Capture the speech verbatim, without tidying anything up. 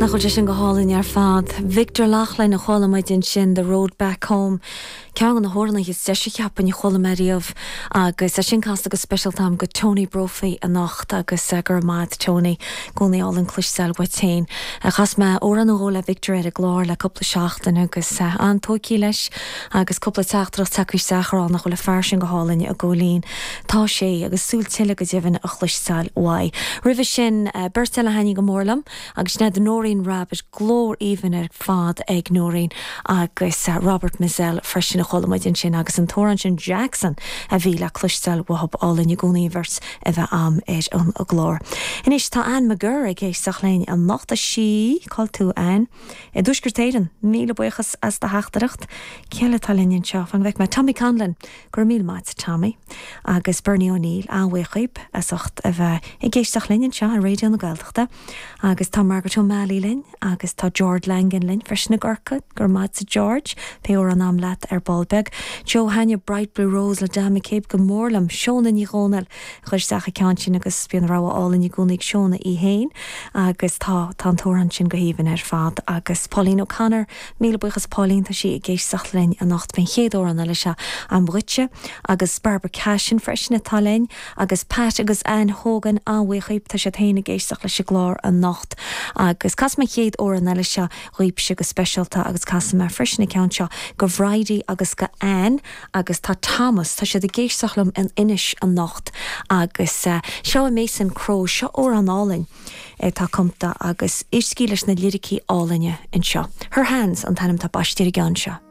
Nach bhfuil sé sin go hálainn ar fad. Victor Loughlin a chuala muid ansin The Road Back Home. Ceann de na hamhráin is deise cheapfainn a chuala mé riamh agus é sin casta go speisialta agam go Tony Brophy anocht agus uh, go raibh maith Tony i gcónaí álainn cloisteáil uait féin. Chas mé amhrán nó dhó le Victor ar an gclár le cúpla seachtain agus uh, an-tógtha leis agus cúpla teachtaireacht tagtha isteach á rá nach bhfuil an fear sin go hálainn a Chóilín. Tá sé agus súil tuilleadh go deimhin a chloisteáil uaidh. Roimhe sin uh, beirt eile a thaitníonn go mór liom agus sin Noreen Rabbitt glór aoibhinn ar fad ag Noreen agus uh, Robert Mizzell freisin a chuala muid ansin agus an t-amhrán sin Jackson a bhí le cloisteáil uathu álainn i gcónaí bheirt a bheith agam ar an gclár. Anois tá Ann McGurr ag éisteacht linn anocht sí cá bhfuil tú Ann. I dTuaisceart Éireann míle buíochas as do theachtaireacht cé eile atá linn anseo fan bheith me Tommy Conlon gur míle maith Tommy agus Bernie O'Neill an-bhuíoch as ucht a bheith ag éisteacht linn anseo ar Raidió na Gaeltachta agus tá Margaret O'Malley linn agus tá George Langan linn freisin i gCorcaigh gur maith George pé or an am leat ar ball beag. Joe thaitnigh Bright Blue Rose le Dan McCabe go mór liom Seona Ní Dhomhnaill chuir isteach an ceann sin agus bíonn rogha álainn i gcónaí ag Seona í féin agus tá tá an t-amhrán sin go haoibhinn ar fad agus Pauline O'Connor míle buíochas Pauline tá sí ag éisteacht linn anocht b'in chéad amhrán eile seo an bhuite agus Barbara Cashin freisin atá linn agus Pat agus Ann Hogan an-bhuíoch tá siad féin ag éisteacht leis an gclár anocht agus casfaidh mé chéad amhrán eile seo dhaoibhse go speisialta agus casfaidh mé freisin an ceann seo go Bridie agus go Ann agus tá Thomas tá siad ag éisteacht liom in Inis anocht agus uh, seo Mason Crowe seo amhrán álainn atá cumtha agus éistigí leis na liricí álainne anseo. Her Hands an t-ainm atá baiste ar an gceann seo.